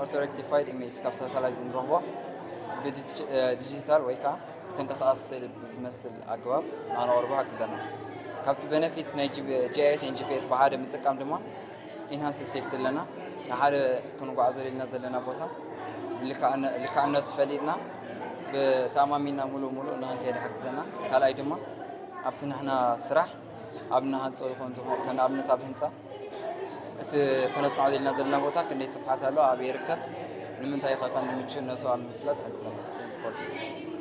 Ortho rectified image ካብ ሳተላይት ንረኽቦ ብዲጂታል ወይ ከዓ ብተንቀሳቐሲ ስእሊ ብዝመስል ኣገባብ ንኸነቕርቦ ሓግዘና። ካብቲ ቤነፊትስ ናይ ጂ ኣይ ኤስ ን ጂ ፒ ኤስ ብሓደ ምጥቃም ድማ ኢንሃንስድ ሴፍቲ ኣለና። ንሓደ ክንጓዓዘሉ ኢልና ዘለና ቦታ ልክዕነቱ ፈሊጥና ብተኣማሚንና ሙሉእ ሙሉእ ንኽንከይድ ይሓግዘና። ካልኣይ ድማ ኣብቲ ንሕና ስራሕ ኣብ ንሃንፆ ይኹን ዝኾ- ከም ኣብነት ኣብ ህንፃ እቲ ከነፅንዖ ዘለና ዘለና ቦታ ክንደይ ስፍሓት ኣሎ፣ ኣበይ ይርከብ፣ ንምንታይ ከ ቀንዲ ምቹእነቱ ኣብ ምፍላጥ ይሕግዘና። ፎርስ